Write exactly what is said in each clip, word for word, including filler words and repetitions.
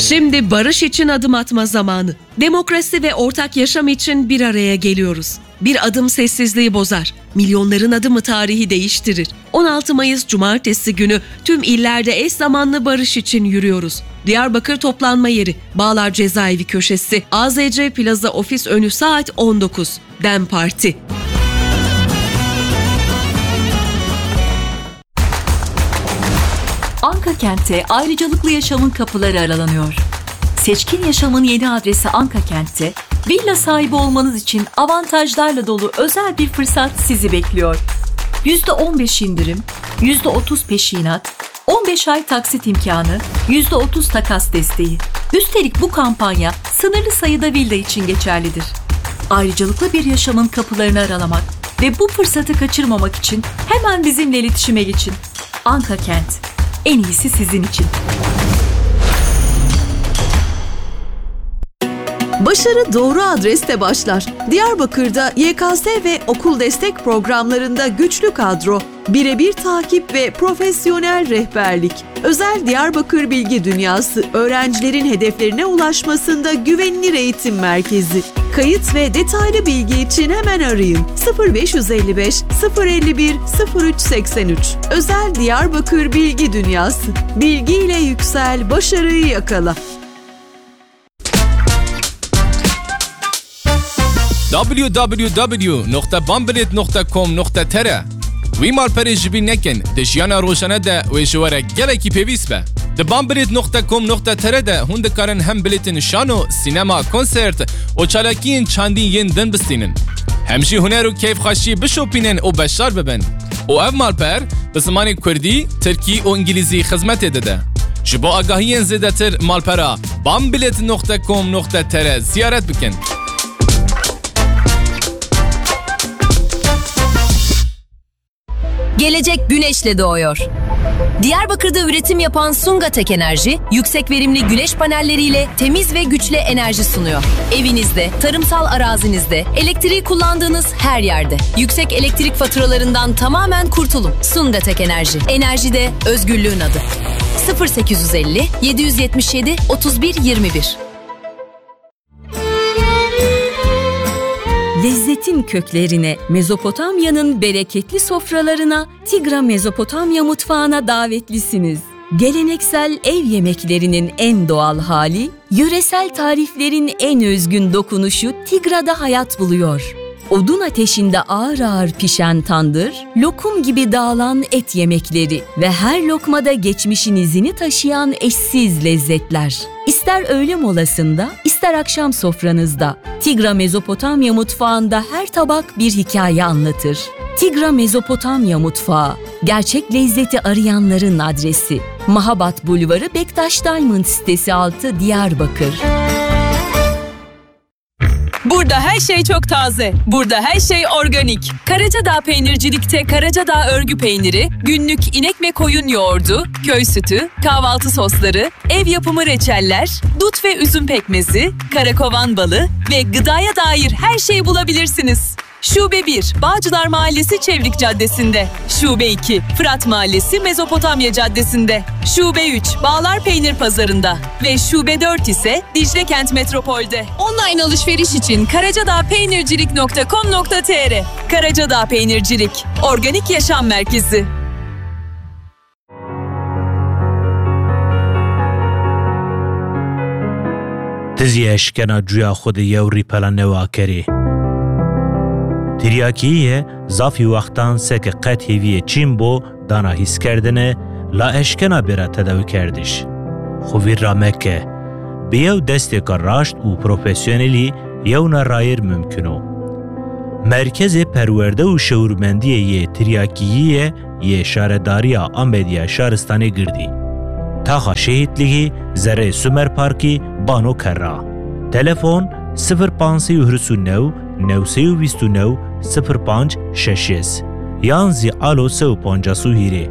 Şimdi barış için adım atma zamanı. Demokrasi ve ortak yaşam için bir araya geliyoruz. Bir adım sessizliği bozar. Milyonların adımı tarihi değiştirir. On altı Mayıs Cumartesi günü tüm illerde eş zamanlı barış için yürüyoruz. Diyarbakır toplanma yeri, Bağlar Cezaevi köşesi, A Z C Plaza ofis önü saat on dokuz. DEM Parti. Anka Kent'te ayrıcalıklı yaşamın kapıları aralanıyor. Seçkin yaşamın yeni adresi Anka Kent'te villa sahibi olmanız için avantajlarla dolu özel bir fırsat sizi bekliyor. Yüzde on beş indirim, yüzde otuz peşinat, on beş ay taksit imkanı, yüzde otuz takas desteği. Üstelik bu kampanya sınırlı sayıda villa için geçerlidir. Ayrıcalıklı bir yaşamın kapılarını aralamak ve bu fırsatı kaçırmamak için hemen bizimle iletişime geçin. Anka Kent. En iyisi sizin için. Başarı doğru adreste başlar. Diyarbakır'da Y K S ve okul destek programlarında güçlü kadro, birebir takip ve profesyonel rehberlik. Özel Diyarbakır Bilgi Dünyası, öğrencilerin hedeflerine ulaşmasında güvenilir eğitim merkezi. Kayıt ve detaylı bilgi için hemen arayın: sıfır beş yüz elli beş, sıfır elli bir, sıfır üç seksen üç. Özel Diyarbakır Bilgi Dünyası. Bilgiyle yüksel, başarıyı yakala. W W W nokta bambilêt nokta com nokta T R. Wî malperê ji bîr nekin, di jiyana rojane de wê ji we re gelekî pêwîst be. Di bambilêt nokta com nokta T R de hûn dikarin hem bilêtên şano, sînema, konsert û çalakiyên çandî yên din bistînin. Hem jî huner û keyfxweşî bişopînin û beşdar bibin. Û ev malper bi zimanê kurdî, tirkî û îngilîzî xizmetê dide. Ji bo agahiyên zêdetir malpera bambilêt nokta com nokta T R ziyaret bikin. Gelecek güneşle doğuyor. Diyarbakır'da üretim yapan Sungatek Enerji, yüksek verimli güneş panelleriyle temiz ve güçlü enerji sunuyor. Evinizde, tarımsal arazinizde elektriği kullandığınız her yerde yüksek elektrik faturalarından tamamen kurtulun. Sungatek Enerji. Enerjide özgürlüğün adı. sıfır sekiz yüz elli, yedi yüz yetmiş yedi, otuz bir, yirmi bir. Lezzetin köklerine, Mezopotamya'nın bereketli sofralarına Tigra Mezopotamya mutfağına davetlisiniz. Geleneksel ev yemeklerinin en doğal hali, yöresel tariflerin en özgün dokunuşu Tigra'da hayat buluyor. Odun ateşinde ağır ağır pişen tandır, lokum gibi dağılan et yemekleri ve her lokmada geçmişin izini taşıyan eşsiz lezzetler. İster öğle molasında, ister akşam sofranızda, Tigra Mezopotamya mutfağında her tabak bir hikaye anlatır. Tigra Mezopotamya mutfağı, gerçek lezzeti arayanların adresi. Mahabat Bulvarı, Bektaş Diamond sitesi altı, Diyarbakır. Burada her şey çok taze. Burada her şey organik. Karacadağ Peynircilik'te Karacadağ örgü peyniri, günlük inek ve koyun yoğurdu, köy sütü, kahvaltı sosları, ev yapımı reçeller, dut ve üzüm pekmezi, karakovan balı ve gıdaya dair her şeyi bulabilirsiniz. Şube bir, Bağcılar Mahallesi Çevrik Caddesi'nde. Şube iki, Fırat Mahallesi Mezopotamya Caddesi'nde. Şube üç, Bağlar Peynir Pazarı'nda. Ve Şube dört ise Dicle Kent Metropol'de. Online alışveriş için karacadağ peynircilik nokta com nokta T R. Karacadağ Peynircilik, organik yaşam merkezi. Ti zî eşkena cuya xwe de yew rîpela newa kerê. Tiryakî ye, zafî wextan seke qet hêviyê çîn bo dana hîskerdine, la eşkena bêra tedawikerdiş. Xwe vîr ra meke. Bi yew destêka raşt û profesyonelî yewna rayîr mumkin o. Merkezê Perwerde û Şewirmendiyê yê Tiryakîyî ye yê Şaredariya Amedî ya Şaristanê Girdî. Taxa Şehîtlîgî, zerrê Sumer Parkî, Bano Kerra. Telefon: sifir panc sey û hîris û new, new sey û vîst û new, sifir panc şeş yüz yan zî alo sey û pancas û hîrê.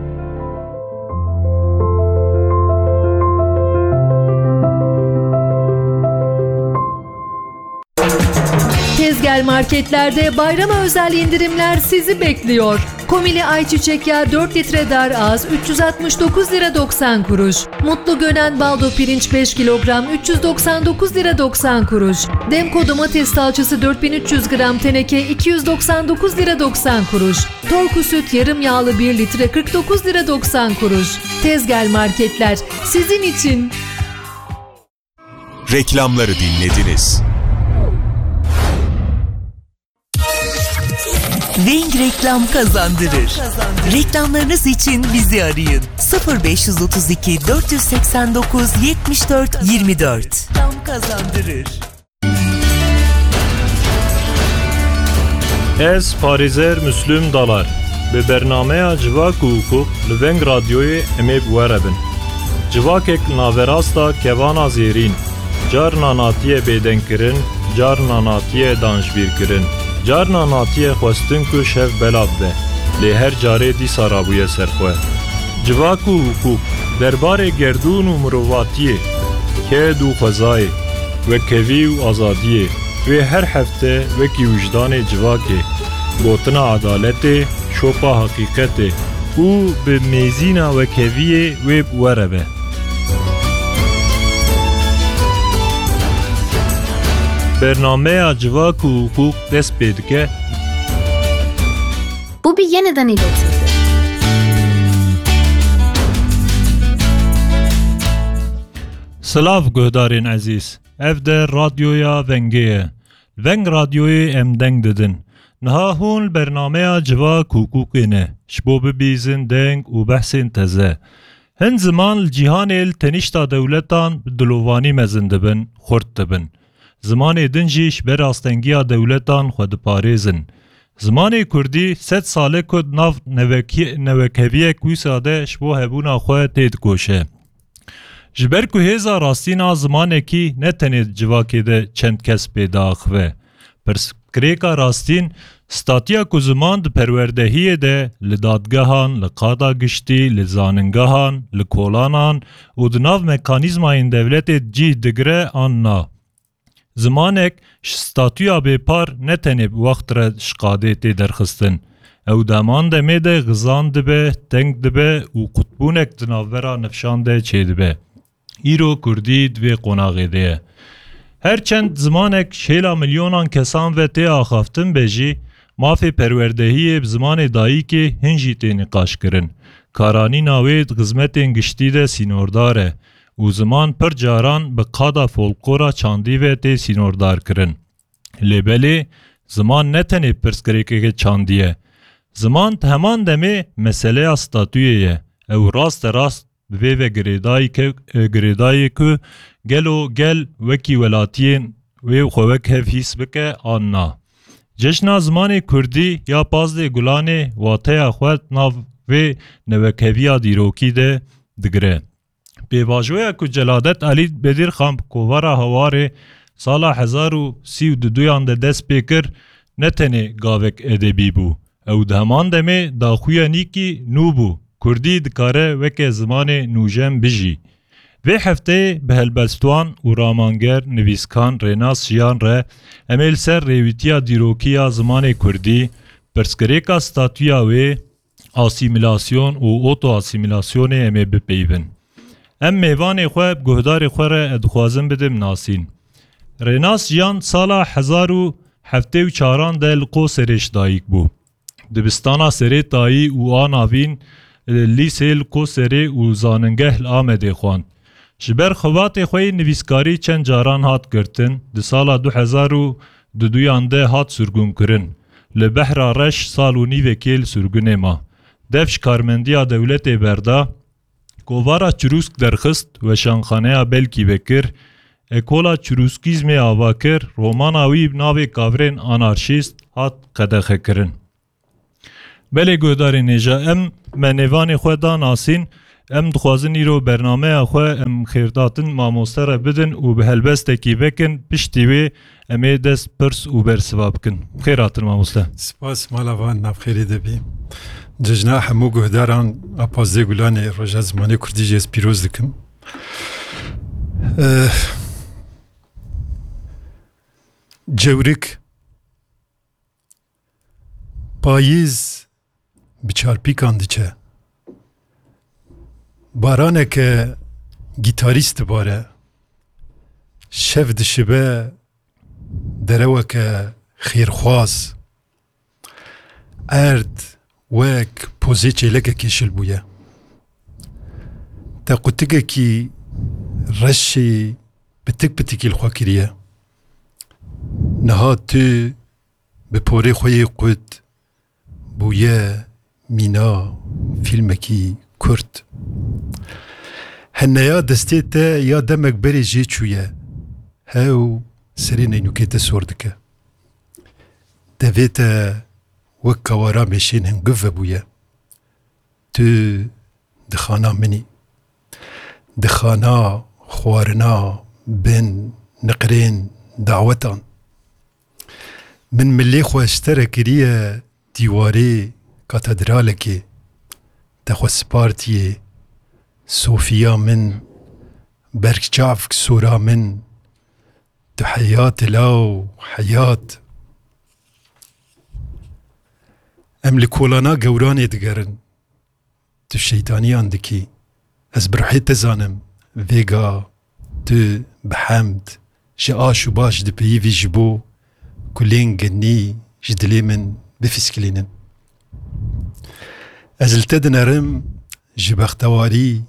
Tezgel marketlerde bayrama özel indirimler sizi bekliyor. Komili ayçiçek yağı dört litre dar az üç yüz altmış dokuz lira doksan kuruş. Mutlu Gönen baldo pirinç beş kilogram üç yüz doksan dokuz lira doksan kuruş. Demko domates salçası dört bin üç yüz gram teneke iki yüz doksan dokuz lira doksan kuruş. Torku süt yarım yağlı bir litre kırk dokuz lira doksan kuruş. Tezgel marketler sizin için. Reklamları dinlediniz. Weng reklam kazandırır. Reklamlarınız için bizi arayın. Sıfır beş yüz otuz iki, dört yüz seksen dokuz, yetmiş dört, yirmi dört. Reklam kazandırır. Ez parêzer Müslüm Dalar. Bi bernameya Civak û Hiqûq li Veng Radyoyê em ê bi we re bin. Civakek li naverasta kevana zêrîn, carna natiye bêdengkirin, carna natiye danjbîrkirin, carna natiye xwestin ku şev bela bibe, lê her carê dîsa rabûye ser xwe. Civak û Hiqûq, derbarê gerdûn û mirovatiyê, ked û xwezayê, wekhevî û azadiyê, wê her hefte wekî wijdanê civakê, gotina edaletê, şopa heqîqetê û bi mêzîna wekheviyê wê bi we re be. Bernameya Civak û Hiqûq dest pê dike. Bu bir yeniden iletildi. Silav guhdarên ezîz. Ev de Radyoya Vengê ye. Veng Radyoyê em deng didin. Niha hûn li bernameya Civak û Hiqûqê ne, ji bo bibîzin deng û behsên teze. Hin ziman li cîhanê li tenişta dewletan bi dilovanî mezin dibin, xurt dibin. Zimanê din jî ji ber astengiya dewletan xwe diparêzin. Zimanê kurdî sed sale ku di nav nevekî-, newekheviyek wisa de ji bo hebûna xwe têdikoşe. Ji ber ku hêza rastîn a zimanekî ne tenê di civakê de çend kes pê diaxive. Pirsgirêka rastîn, statiya ku ziman di perwerdehiyê de, li dadgehan, li qada giştî, li zaningehan, li kolanan û di nav mekanîzmayên dewletê cih digire an na. Zimanek ji statuya bêpar ne tenê bi wext re ji qadê tê derxistin. Ew di heman demê de xizan dibe, teng dibe û qutbûnek di navbera nifşan de çêdibe. Îro kurdî di vê qonaxê de ye. Her çend zimanek şêla milyonan kesan ve tê axaftin be jî, mafê perwerdehiyê bi zimanê dayikê hin jî tê nîqaşkirin. Karanîna wê di xizmetên giştî de sînordar e û ziman pir caran bi qada folklora çandî ve tê sînordarkirin. Lê belê, ziman ne tenê pirsgirêkeke çandî ye. Ziman di heman demê meseleya statuyê ye. Ew raste rast bi vê ve girêdayî ke-, e, girêdayê ku gelo gel wekî welatiyên wê xwe wek hev hîs bike an na. Cejna zimanê kurdî ya pazdeh Gulanê wateya xwe di nav vê newekeviya dîrokî de digire. Pêvajoya ku Celadet Elî Bedirxan bi kovara Hawarê sala hezar û sî û duduyan de dest pê kir, ne tenê gavek edebî bû. Ew di heman demê daxuyanîkî nû bû. Kurdî dikare weke zimanê nûjen bijî. Vê hefteyê bi helbestvan û ramanger, nivîskar Rênas Jiyan re em ê li ser rêwîtiya dîrokî ya zimanê kurdî, pirsgirêka statûya wê, asîmîlasyon û oto-asîmîlasyonê em ê bipeyivin. Em mêvanê xwe bi guhdarê xwe re dixwazin bidim nasîn. Rênas Jiyan sala hezar û heftê û çaran de li Qoserê ji dayik bû. Dibistana Serê Tayî û a navîn, e, lîsê li Qoserê û zaningeh li Amedê xwend. Ji ber xebatê xwe yê nivîskarî çend caran hat girtin, di sala du hezar û duduyan de hat sirgûnkirin. Li Behra Reş sal û nîvekê li sirgûnê ma. Dev ji karmendiya dewletê berda, kovara Çirûsk derxist, weşanxaneya Belkî vekir, ekola çirûskîzmê ava kir, romana wî bi navê Kavirên Anarşîst hat qedexekirin. Belê guhdarên hêja, em me nêvanê xwe da nasîn, em dixwazin îro bernameya xwe em xêrdatin mamoste re bidin û bi helbestekî vekin, piştî wê em ê dest pirs û bersiva bikin. Xêr hatin mamoste. Spas, mala van navxêrê de bî. Cejna hemû guhdaran a pazdeh Gulanê Roja Zimanê Kurdî jî ez pîroz dikim. Eh, Cewrik, payîz, bi çarpîkan diçe. Baraneke gîtarîst dibare. Şev dişibe dereweke xêrxwaz. Erd wek pozê çêlekekê şil bûye. Te qutikekî reşê pitik pitikî li xwe kiriye. Niha tu bi porê xwe yê qut bûye mîna fîlmekî kurt. Heneya destê te ya demek berê jê çûye. Hew serê neynûkê te sor dike. Devê te wek kawara mêşên hingiv vebûye. Tu di xana min î. Di xana xwarina bin niqrên dawetan. Min milê xwe ji te re kiriye dîwarê katedralekê. Te xwe spartiye Sofiya min, berçavk sora min. Tu heyat î law, heyat. Em li kolana gewranê digerin. Tu şeytaniyan dikî. Ez bi ruhê te zanim. Vêga tu bi hemd ji aş û baş dipeyivî ji bo kulên genî ji dilê min bifîskilînin. Ez li te dinerim, ji bextewarî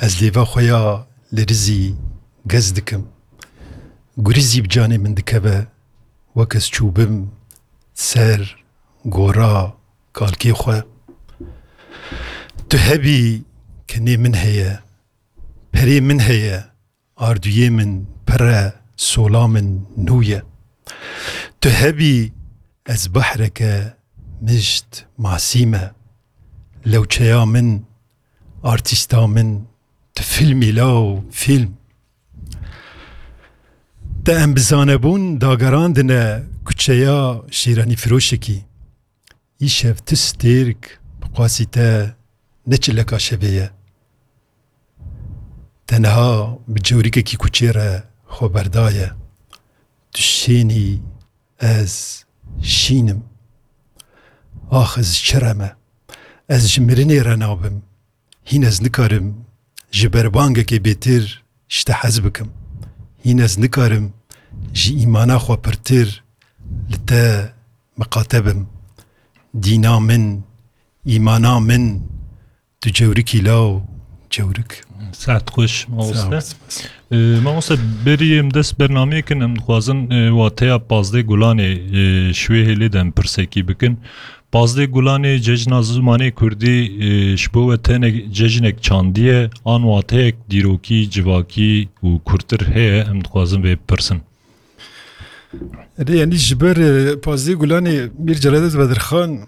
ez lêva xwe ya li rizî gez dikim. Gurizî bi canê min dikeve, wek ez çûbim ser gora kalkê xwe. Tu hebî, kenê min heye, perê min heye, ardûyê min pir e, sola min nû ye. Tu hebî, ez behreke mişt masî me. Lewçeya min, artîsta min, tu fîlmî law, fîlm. Te em bi zanebûn dagerandine kuçeya şêranîfiroşekî. Îşev tu stêrk bi qasî te ne çileka şevê ye. Te niha bi cewrîkekî kuçê re xwe berdaye. Tu şênî, ez şîn im. Ax, ez çi re me? Ez ji mirinê re nabim. Hîn ez nikarim ji berbangekê bêtir ji te hez bikim. Hîn ez nikarim ji îmana xwe pirtir li te miqate bim. Dîna min, îmana min, tu cewrikî law, cewrik. Saet xweş, mamoste. Sağ ol, spas. Ee, mamoste, berî em dest bernameyê kin, em dixwazin, e, wateya pazdeh Gulanê, e, ji wê hêlê de em pirsekî bikin. Pazdeh Gulanê Cejna Zimanê Kurdî, e, ji bo we tenek cejnek çandî ye, an wateyek dîrokî, civakî û kurtir heye, em dixwazin vê bipirsin. Erê, yanî ji ber, e, pazdeh Gulanê Mîr Celadet Bedirxan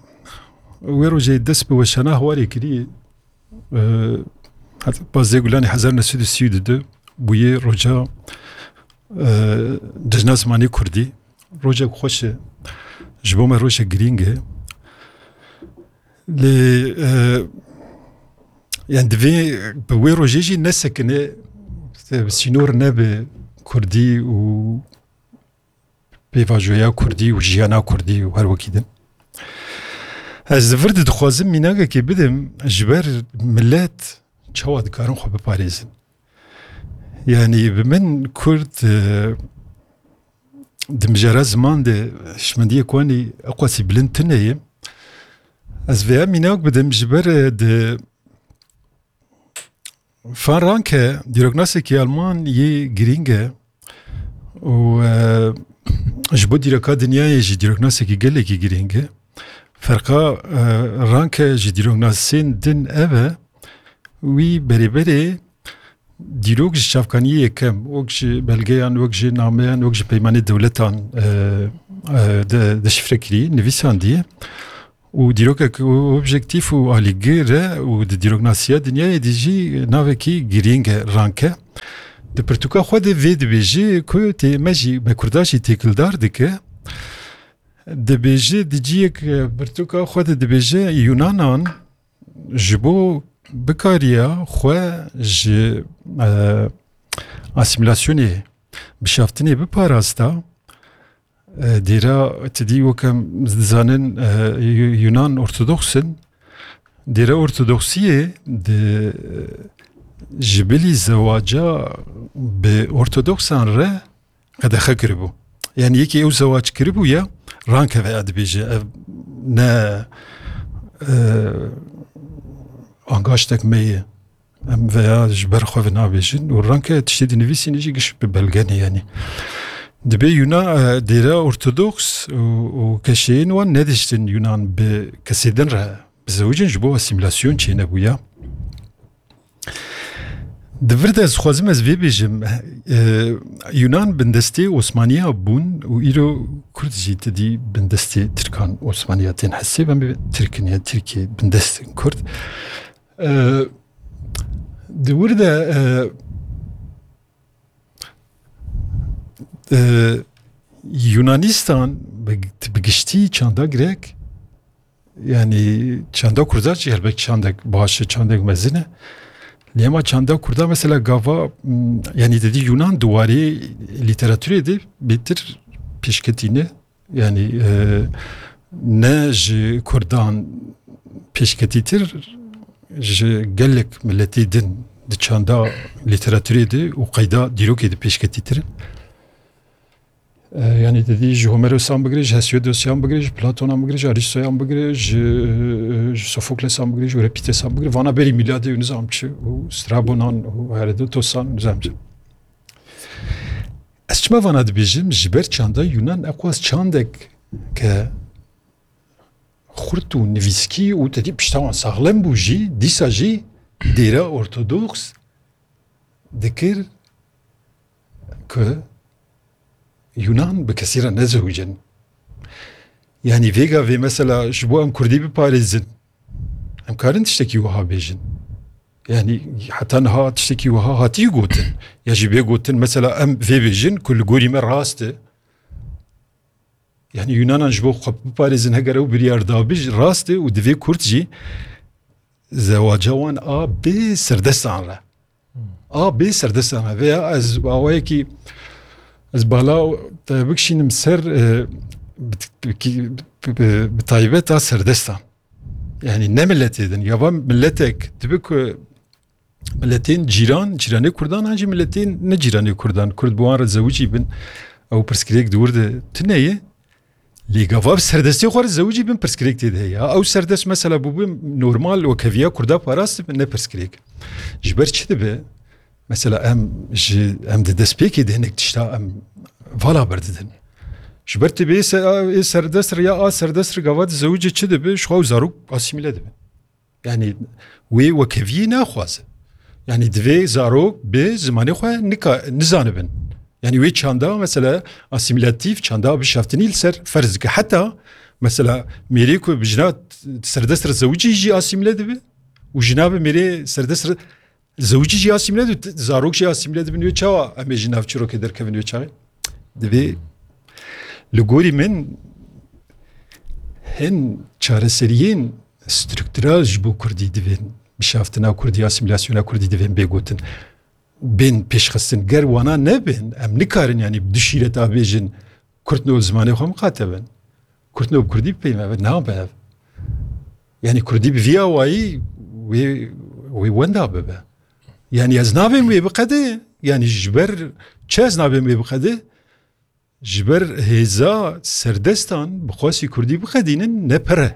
wê rojê dest bi weşana Hawarê kirî. E, heta pazdeh Gulanê hezar neh sed û sî û du bûye roja, e, Cejna Zimanê Kurdî. Rojek xweş e. Ji bo me rojek girîng e. Lê, e, yani divê bi wê rojê jî nesekine, e, sînor nebe kurdî û pêvajoya kurdî û jiyana kurdî û her wekî din. Ez li vir de dixwazim mînakekê bidim ji ber milet çawa dikarin xwe biparêzin. Yani bi min kurd, e, di mijara ziman de hişmendiyê Koanî eqwasî bilind tune ye. Ez vêya mînak bidim ji ber, e, di Van Ranke dîroknasekî Alman yê girîng e û, e, ji bo dîroka dinyayê jî dîroknasekî gelekî girîng e. Ferqa, e, Ranke ji dîroknasên din ev e, wî berê berê dîrok ji çavkaniyê yekem, wek ji belgeyan, wek ji nameyan, wek ji peymanê dewletan, e, e, de, deşifre kirî, nivîsandiye. Û dîrokek objektîf û alîgir e û di dîroknasiya dinyayê de jî navekî girîng e, Ranke. Di pirtûka xwe de vê dibêje ku tê me jî, me Kurda jî têkildar dike. Dibêje di ciyek, e, pirtûka xwe de dibêje Yunanan ji bo bikariya xwe ji, e, asîmîlasyonê, bişaftinê biparasta, e, dêra tidî wek em dizanin, e, Yu-, Yunan Ortodoks in, Dêra Ortodoksiyê di, ji bilî zewaca bi Ortodoksan re qedexe kiribû. Yani yekê ew zewac kiribû ya, rankeve ya dibêje, ev ne, e, angaştek me ye. Em veya ji ber xwe ve nabêjin û ranke tiştê dinivîsîne jî giş bi belge ne yani. Dibê Yuna, e, dêra Ortodoks û, û keşeyên wan nediştin Yunan bi kesê din re bizewicin, ji bo asîmîlasyon çênebûya. Di vir de ez dixwazim ez vê bêjim, e, Yunan bindestê Osmaniya bûn û îro Kurd jî ti dî bindestê Tirkan Osmaniya tên hesê, em bê Tirk in, yani Tirkê bindest in Kurd. E, di wir de, e, e, Yunanistan bi, bi giştî çanda Grek, yani çanda Kurda jî helbet çandek baş e, çandek mezin e. Lê ema çanda Kurda mesela gava, m, yani dedî Yunan di warê lîteraturê de bêtir pêşketî ne. Yani, e, ne ji Kurdan pêşketîtir, ji gelek miletê din di çanda lîteraturê de û qeyda dîrokê de pêşketîtir in. E, yani dedî ji Homeros'an bigire, ji Hesiodos'an bigire, ji Platon'an bigire, ji Aristo'yan bigire, ji, ji Sofokles'an bigire, ji Euripides'an bigire, vana berî mîladê û nizam çi, û Strabon'an û Herodotos'an û nizam çi. Ez çima vana dibêjim? Ji ber çanda Yunan eqwas çandek ke xurt û nivîskî û tedî pişta wan saxlem bû jî, dîsa jî dêra ortodoks dikir ku Yunan bi kesî re nezewicin. Yani vêga vê mesela ji bo em Kurdî biparêzin, em karin tiştekî wiha bêjin. Yani heta niha tiştekî wiha hatiye gotin. Ya jî bê gotin mesela em vê bêjin ku li gorî me rast e. Yani Yunanan ji bo xwe biparêzin heger ew biryar dabî jî rast e û divê Kurd jî zewaca wan a bê serdestan re. A bê serdestan re. Veya ez awayekî ez bala te bikişînim ser, e, bi, bi, bi, bi taybet a serdestan. Yani ne milletê din. Ya van milletek dibe ku milletên cîran, cîranê Kurdan an jî milletên ne cîranê Kurdan. Kurd bi wan re zewicî bin. Ew pirsgirêk di wir de tune ye. Lê gava bi serdestê xwe re zewicî bin pirsgirêk tê de heye. Ew serdest mesela bû bi normal wekheviya Kurda parast bin ne pirsgirêk. Ji ber çi dibe? Mesela em ji, em di destpêkê de hinek tişta em vala berdidin. Ji ber tê bê se-, a, ê serdest re ya a serdest re gava di zewicê çi dibe? Ji xwe ew zarok asîmîle dibe. Yani wê wekeviyê naxwaze. Yani divê zarok bi zimanê xwe nika-, nizanibin. Yani wê çanda mesela asîmîlatîf, çanda bişaftinî li ser ferz dike. Heta mesela mêrê ku bi jina serdest re zewicî jî asîmîle dibe û jina bi mêrê serdest re zewicî jî asîmîle dibe, zarok jî asîmîle dibin. Wê çawa em ê ji nav çîrokê derkevin wê çaxê? Divê li gorî min hin çareseriyên struktural ji bo Kurdî divên, bişaftina Kurdî, asîmîlasyona Kurdî divên bê gotin, bên pêşxistin. Ger wana nebin, em nikarin, yani, bi du şîreta bêjin, Kurd no zimanê xwe miqate bin. Kurd no bi Kurdî bipeyve, nabe ev. Yani, Kurdî bi vî awayî wê, wê wenda bibe. Yani, ez nabêm wê biqede, yani, ji ber çi ez nabêm wê biqede? Ji ber hêza serdestan bi xwesî Kurdî biqedînin ne pir e.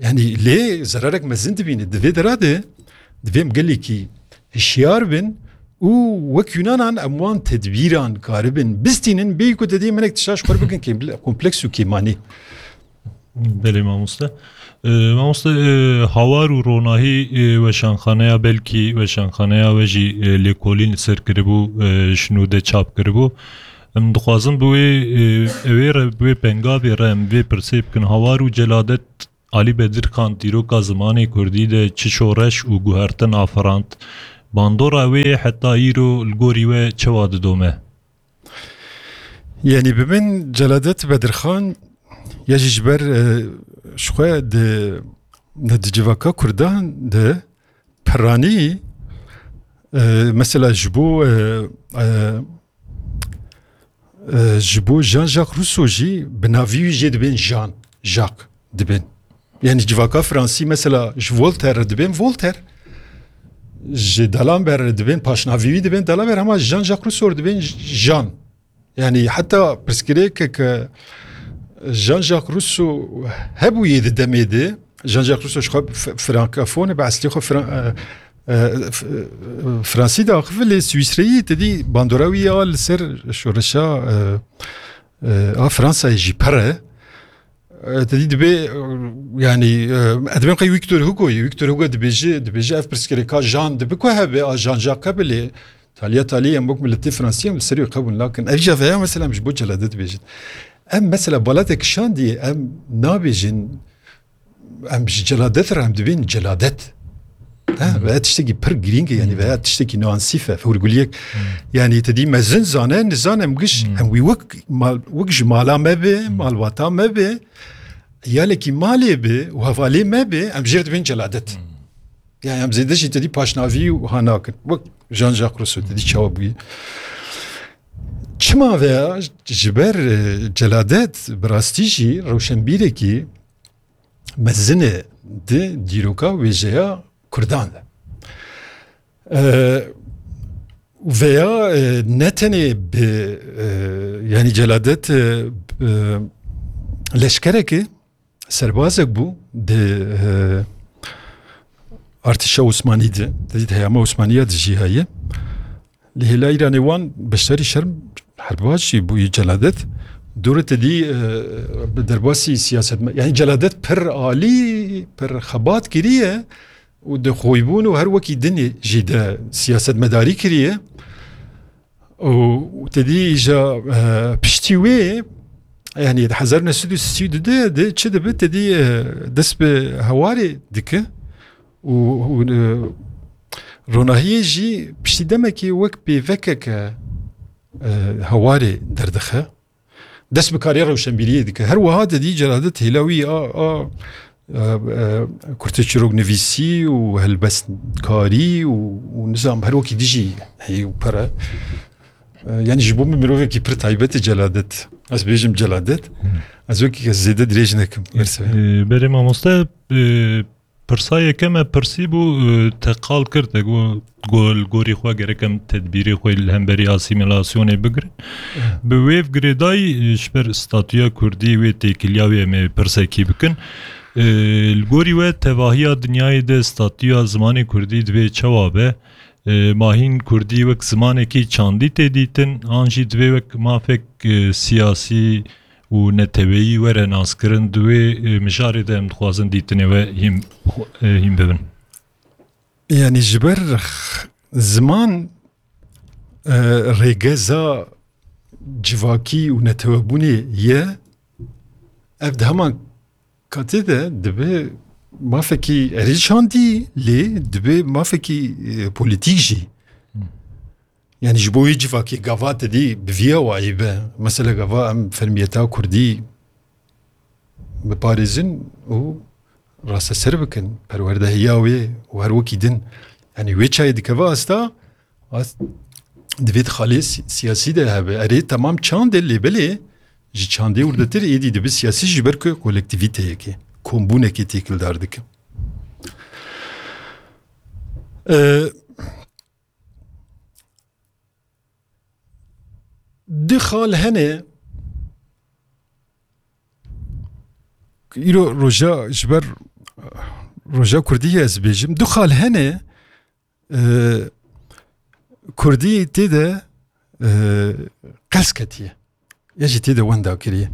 Yani lê zerarek mezin dibîne. Di vê dera de divê em gelekî hişyar bin û wek Yunanan em wan tedbîran karibin bistînin, bêyî ku te dê hinek tişta ji xwe re bikin kêm-, kompleks û kêmanî. Belê mamoste. E, mamoste, e, Hawar û Ronahî, e, weşanxaneya, belkî weşanxaneya we jî, e, lêkolîn li ser kiribû, e, ji nû de çap kiribû. Em dixwazin bi wê, e, ewê re, bi wê pengavê re em vê pirsê bikin. Hawar û Celadet Alî Bedirxan dîroka zimanê kurdî de çi şoreş û guhertin afirand? Bandora wê heta îro li gorî we çawa didome? Yani bi min Celadet Bedirxan ya jî ji ber, e, ji xwe di, di civaka Kurdan de piranî, e, mesela ji bo, e, e, e, ji bo Jean-Jacques Rousseau jî bi navî wî jê dibên Jean, Jacques dibên. Yani civaka Fransî mesela ji Voltaire re dibên Voltaire, ji D'Alembert re dibên, paşnavî wî dibên D'Alembert, hema Jean-Jacques Rousseau re dibên Jean. Yani heta pirsgirêkeke Jean-Jacques Rousseau hebûyê di demê de, Jean-Jacques Rousseau ji xwe f-, frankofon e, bi eslê xwe fran-, e, e, f-, e, Fransî de axivî, lê Swîsreyî te dî bandora wî ya li ser şoreşa, e, e, a Fransayê jî pir e. E, te dî dibê, e, yani, e, ez dibêm qey Victor Hugo'yê. Victor Hugo dibêje, dibêje ev pirsgirêka Jean dibe ku hebe, a Jean-Jacques hebe, lê taliya talî em wek miletê Fransî em li ser wê qebûl nakin. Ev jî veya mesela em ji bo celadet dibêjin. Em mesela balatek şandî em nabêjin, em ji celadet re em dibên celadet. Ha, veya tiştekî pir girîng e, yani veya tiştekî nuansîf e, hûrguliyek. Yani te dî mezin zane, nizane em giş, em wî wek mal, wek ji mala me be, malbata me be, yalekî malê be û hevalê me be, em jê re dibên celadet. Yani em zêde jî te dî paşnavî û ha nakin. Wek Jean-Jacques Rousseau te dî çawa bûye. Çima veya ji ber, e, celadet bi rastî jî rewşenbîrekî mezin e di dîroka wêjeya Kurdan de. E, veya, e, ne tenê bi, e, yani celadet, e, e, leşkereke serbazek bû di, e, artêşa Osmanî de, di heyama Osmaniya de jî heye. Li hêla Îranê wan beşdarî şerm herbaş jî bûyî celadet. Dûre te dî, e, bi derbasî siyaset me, yani celadet pir alî, pir xebat kiriye û di xoybûn û her wekî din jî de siyasetmedarî kiriye. Û te dî îja, e, piştî wê, yani di hezar neh sed û sî û du de, de çi dibe, te dî, e, dest bi hewarê dike û, û, e, ronahiyê jî piştî demekê wek pêvekeke, e, hewarê derdixe. Dest bi karê rewşenbîriyê dike. Her wiha te dî celadet hêla wî a, a, e, e, kurteçîroknivîsî û helbestkarî û, û nizam her wekî dijî heyî û pere. E, yani ji bo min mirovekî pir taybet e celadet. Ez bêjim celadet. Ez wekî zêde dirêj nekim. Berse. E, berê mamoste, e, pirsa yekem me pirsî bû, e, te qal kir, te got, go-, li gorî xwe gerek em tedbîrê xwe li hemberî asîmîlasyonê bigirin. Bi wê girêdayî, e, ji ber statûya kurdî wê têkiliya wê em ê pirsekî bikin. E, li gorî we tevahiya dinyayê de statûya zimanê kurdî divê çawa be? E, ma hîn kurdî wek zimanekî çandî tê dîtin, an jî divê wek mafek, e, siyasî û neteweyî were naskirin, di wê, e, mijarê de em dixwazin dîtinê we hîn, e, hîn bibin. Yani ji ber x-, ziman, e, rêgeza civakî û netewebûnê ye, ev di heman katê de dibe mafekî erê çandî, lê dibe mafekî, e, polîtîk jî. Hmm. Yani ji bo wê civakê gava te dî bi vî awayî be. Mesela gava em fermiyeta kurdî biparêzin û rasteser bikin, perwerdehiya wê û her wekî din. Yani wê çayê dikeve asta, as-, divê di xalê si-, siyasî de hebe. Erê, temam çand e, lê belê ji çandê wirdetir êdî dibe siyasî, ji ber ku kolektîvîteyekê, kombûnekê têkildar dike. Ee, du xal hene, îro roja, ji ber roja kurdî ye ez bêjim, du xal hene, e, kurdî tê de, e, qels ketiye. Ya jî tê de wenda kiriye.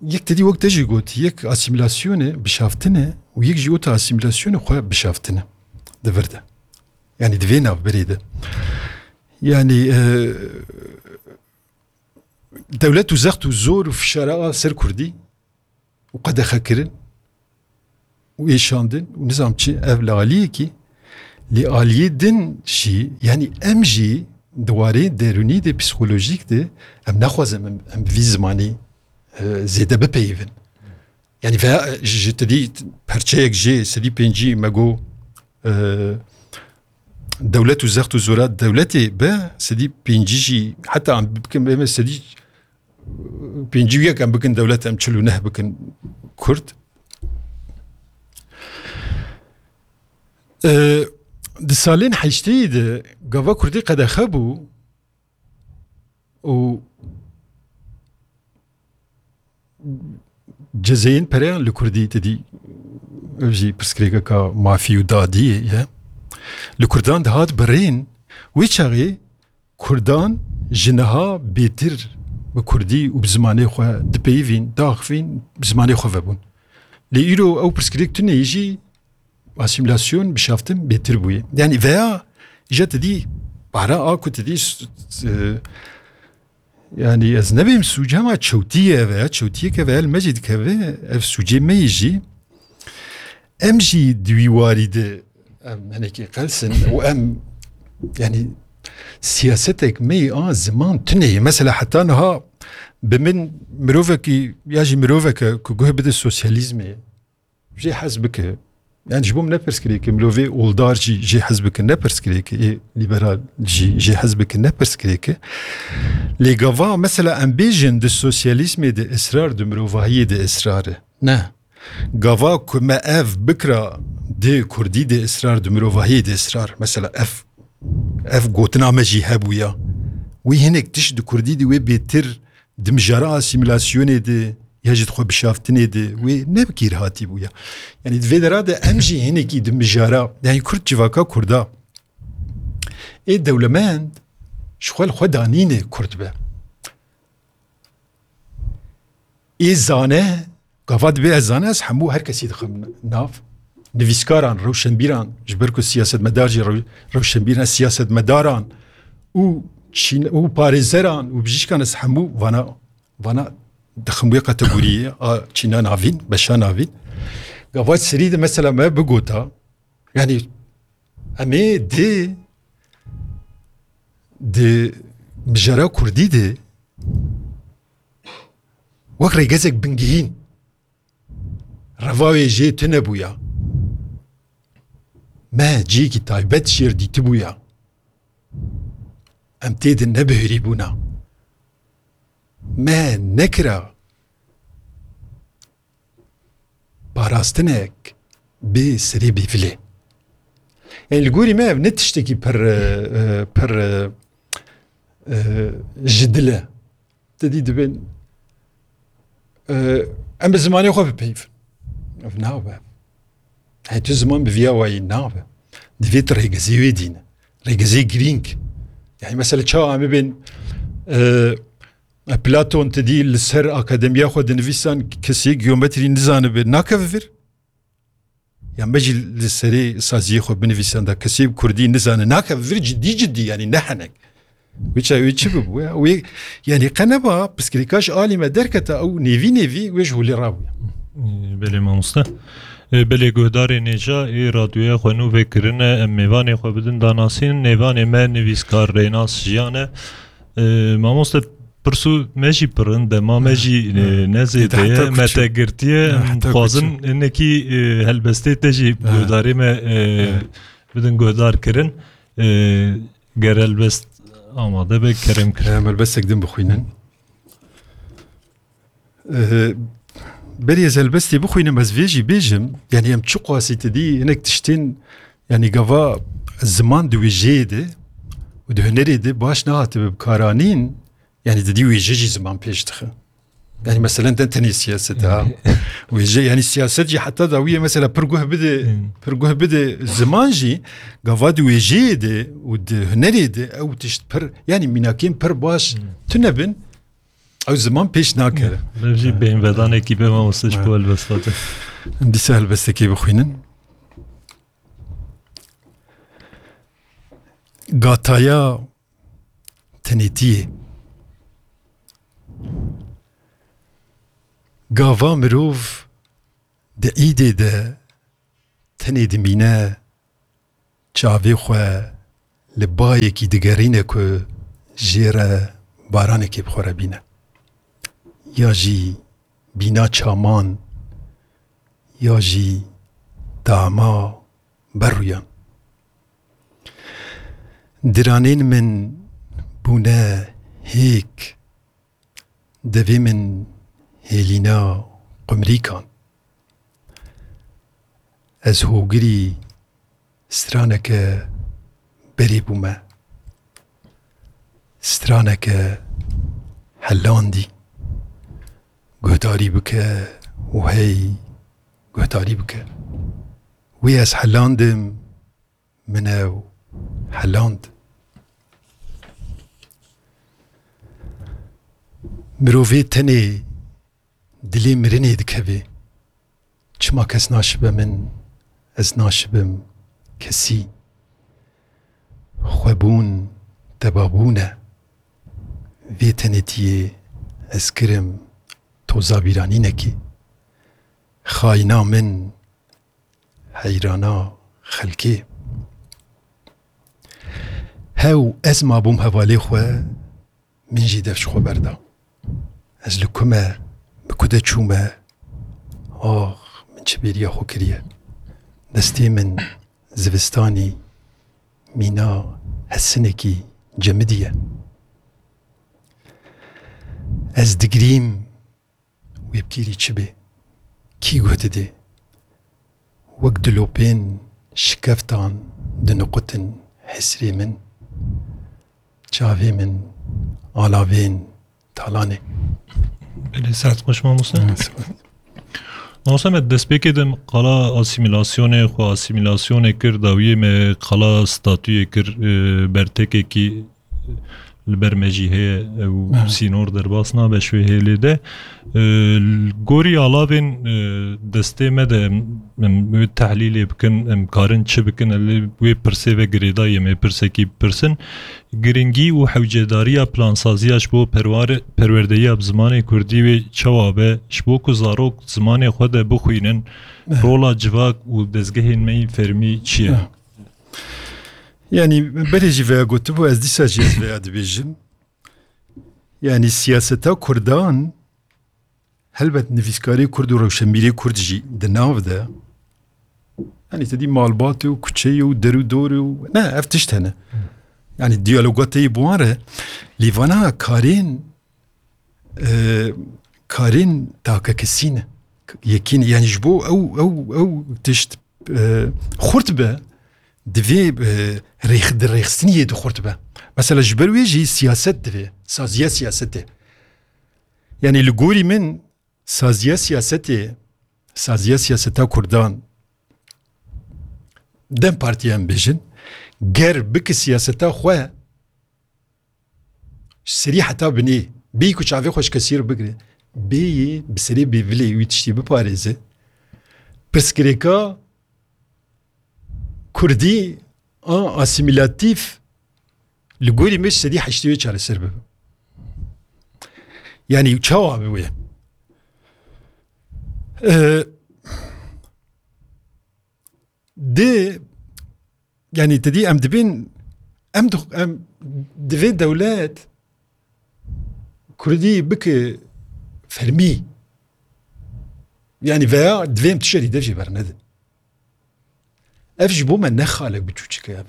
Yek te dî wek te jî got, yek asîmîlasyonê, bişaftin e û yek jî weta asîmîlasyonê xwe bişaftin e. Di vir de. Yani di vê navberê de. Yani, e, dewlet û zext û zor û fişara a ser kurdî û qedexekirin û êşandin û nizam çi, ev li aliyekî, lê aliyê din jî, yani em jî di warê derûnî de, psîkolojîk de, em naxwazin em, em vî zimanî, e, zêde bipeyivin. Yani veya, e, ji, ji te dî perçeyek jê sedî pêncî me got, e, dewlet û zext û zora dewletê be, sedî pêncî jî, heta em bikin, bê me sedî pêncî û yek em bikin dewlet, em çil û neh bikin kurd. E, di salên heşteyî de gava Kurdî qedexe bû û cezeyên pereyan li Kurdî, te dî, ev jî pirsgirêkeka mafî û dadiyê ye. Li Kurdan dihat birîn, wê çaxê Kurdan ji niha bêtir bi Kurdî û bi zimanê xwe dipeyivîn, diaxivîn, bi zimanê xwe vebûn. Lê îro ew pirsgirêk tune yê jî asîmîlasyon, bişaftin bêtir bûye. Yanî veya îja te dî para a ku te dî s-, s-, e, yanî ez nebêm sûc, hema çewtî ye veya çewtiyeke veya li me jî dikeve, ev sûcê me yê jî. Em jî di wî warî de em hinekî qels in û em, yanî, siyasetek me yê a ziman tune ye. Mesela heta niha bi min mirovekî ya jî miroveke ku guh bide sosyalîzmê jê hez bike. Yanî ji bo min ne pirsgirêk e, mirovê oldar jî jê hez bike ne pirsgirêk e, ê lîberal jî jê hez bike ne pirsgirêk e. Lê gava mesela em bêjin di sosyalîzmê de israr, di mirovahiyê de israr e. Ne. Gava ku me ev bikira di kurdî de israr, di mirovahiyê de israr. Mesela ev, ev gotina me jî hebûya. Wî hinek tişt di kurdî de wê bêtir di mijara asîmîlasyonê de ya jî di xwe bişaftinê de wê ne bi kîr hatî bûya. Yanî di vê dera de em jî hinekî di mijara, yanî kurd civaka kurda ê dewlemend ji xwe li xwe danîne kurd be. Ê zane, gava dibê ez zane, ez hemû her kesî dixim nav. Nivîskaran, rewşenbîran, ji ber ku siyasetmedar jî rew-, rewşenbîran, siyasetmedaran û çîn-, û parêzeran û bijîşkan ez hemû vana, vana dixim wê kategoriyê a çîna navîn, beşa navîn. Gava serî de mesela me bigota, yanî em ê di, di mijara kurdî de wek rêgezek bingehîn, reva wê jê tune bûya. Me cihekî taybet jêr dîtibûya. Em tê de nebihurîbûna. Me nekira parastinek bi serê bêvilê. Yanî li gorî me ev ne tiştekî pir, e, e, pir, e, e, ji dil e. Te dî dibên, e, em bi zimanê xwe bipeyivin. Ev nabe. Hey, tu ziman bi viya wayî nabe. Divê tu rêgezê wê dîne. Rêgezê girîng. Yanî mesela çawa em bibên, e, Platon te dî li ser akademiya xwe dinivîsan kesê geometrî nizanibe, nakeve vir. Ya me jî li serê saziyê xwe binivîsan da kesê bi kurdî nizane, nakeve vir cidî cidî, yanî ne henek. Wê ça, wê çi bibû ya? Wê, yanî qe neba pirsgirêka ji alî me derketa ew nêvî nêvî wê ji holê rabûya. Belê mamoste. E, belê guhdarê nêja ê radyoya xwe nû vekirine, em mêvanê xwe bidin danasîn. Mêvanê me nivîskar Rênas Jiyan e. E, mamoste, pirsû me jî pir in, dema me jî, e, ne zêde ye, me te girtiye. Em dixwazin hinekî, e, helbestê te jî guhdarê me, e, bidin guhdar kirin. E, ger helbest amade be, kerem kir. Em helbestek din bixwînin. Eh, berî ez helbestê bixwînim, ez vê jî bêjim, yanî em çiqasî te dî hinek tiştên, yanî gava ziman di wêjeyê de û di hunerê de baş nehatibe bikaranîn, yanî di dî wêje jî ziman pêş dixe. Yanî meselen ne tenê siyaset ha. Wêje, yanî siyaset jî heta dawiyê mesela pir guh bide, pir guh bide ziman jî, gava di wêjeyê de û di hunerê de ew tişt pir, yanî mînakên pir baş tune bin, ew ziman pêş nakeve. Ev jî beynvedanekî be mamoste ji bo helbesta te. Dîsa helbestekê bixwînin. Gataya tenêtiyê. Gava mirov di îdê de tenê dimîne, çavê xwe li bayekî digerîne ku jê re baranekê bi xwe re bîne. Ya jî bîna çaman, ya jî dama berûyan. Diranên min bûne hêk, devê min hêlîna qumrîkan. Ez hogirî Straneke berê bûme. Straneke helandî. Guhdarî bike û hey guhdarî bike. Wî ez helandim, min ew heland. Mirovê tenê dilê mirinê dikeve. Çima kes naşibe min, ez naşibim kesî. Xwebûn tebabûn e. Vê tenêtiyê ez kirim toza bîranînekê. Xayîna min, heyrana xelkê. Hew ez mabûm hevalê xwe, min jî dev ji xwe berda. Ez li ku me, bi ku de çûme, ax, min çi bêriya xwe kiriye. Destê min zivistanî mîna hesinekî cemidiye. Ez digirîm, wê bi kêrî çi bê? Kî guh didê? Wek dilopên şikeftan diniqutin hesrê min. Çavê min alavên talanê. Belê, sihet xweş mamoste. Mamoste, me destpêkê de qala asîmîlasyonê xwe asîmîlasyonê kir, dawiyê me qala statuyê kir, e, bertekekî li ber me jî heye, ew sînor derbas nabe ji wê hêlê de. E, li gorî alavên, e, destê me de em, em wê tehlîlê bikin, em karin çi bikin, em lê wê pirsê ve girêdayî, em ê pirsekî bipirsin. Giringî û hewcedariya plansaziya ji bo perware-, perwerdeyiya bi zimanê kurdî wê çawa be, ji bo ku zarok zimanê xwe de bixwînin, rola civak û dezgehên me yên fermî çi ye? Yanî berê jî veya gotibû, ez dîsa jî ez veya dibêjim. Yanî siyaseta kurdan, helbet nivîskarê kurd û rewşenbîrê kurd jî di nav de, yanî te dî malbatê û kuçeyê û der û dorê û ne, ev tişt hene. Yanî diyaloga te yê bi wan re, lê vana karên, e, karên takekesî ne. Yekî ne. Yanî ji bo ew, ew, ew tişt, e, xurt be, divê, e, rêx-, di rêxistiniyê de xurt be. Mesela ji ber wê jî siyaset divê, saziya siyasetê. Yanî li gorî min saziya siyasetê, saziya siyaseta kurdan, dem partî em bêjin, ger bike siyaseta xwe ji serî heta binê, bêyî ku çavê xwe ji kesî re bigire, bêyî bi serê bêvilê wî tiştî biparêze, pirsgirêka kurdî a asîmîlatîf li gorî me ji sedî heştê wê çareser bibe. Yanî çawa bi wê? Ee, di, yanî te dî em dibên, em dix-, em divê dewlet kurdî bike fermî. Yanî veya divê em tişerî dev jê bernedin. Ev ji bo me ne xalek biçûçik e ev.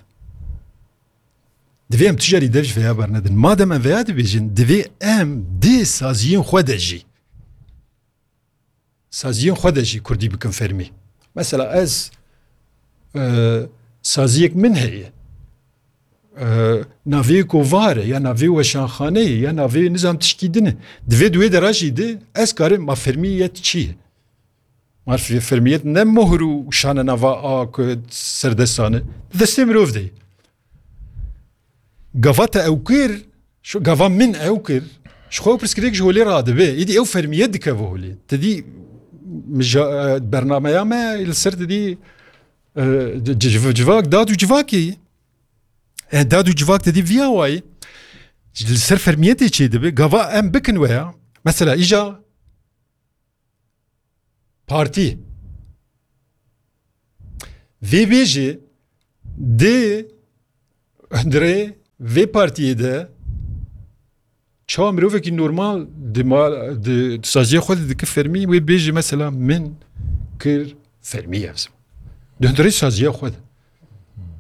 Divê em tu jarî dev ji veya bernedin. Madem em veya dibêjin, divê em di saziyên xwe de jî, saziyên xwe de jî kurdî bikin fermî. Mesela ez, e, saziyek min heye. E, navê kovar e, ya navê weşanxaneyê, ya navê nizam tişkî din e. Divê di wê dera jî de ez karim ma fermiyet çi ye? Ma fe-, fermiyet ne mohr û şane nava a ku serdestan e. Di destê mirov de ye. Gava te ew kir, şu gava min ew kir, ji xwe pirsgirêk ji holê radibe. Îdî ew fermiyet dikeve holê. Te dî mija-, e, bernameya me li ser te dî, e, ci-, civ-, civak, dad û civakê ye. E, dad û civak te dî viya wayê. Li ser fermiyetê çêdibe. Gava em bikin weya. Mesela îja partî. Vê bêjê di hundirê vê partiyê de çawa mirovekî normal di ma-, di, di saziya xwe de dike fermî, wê bêjê mesela min kir fermî ev ziman. Di hundirê saziya xwe de.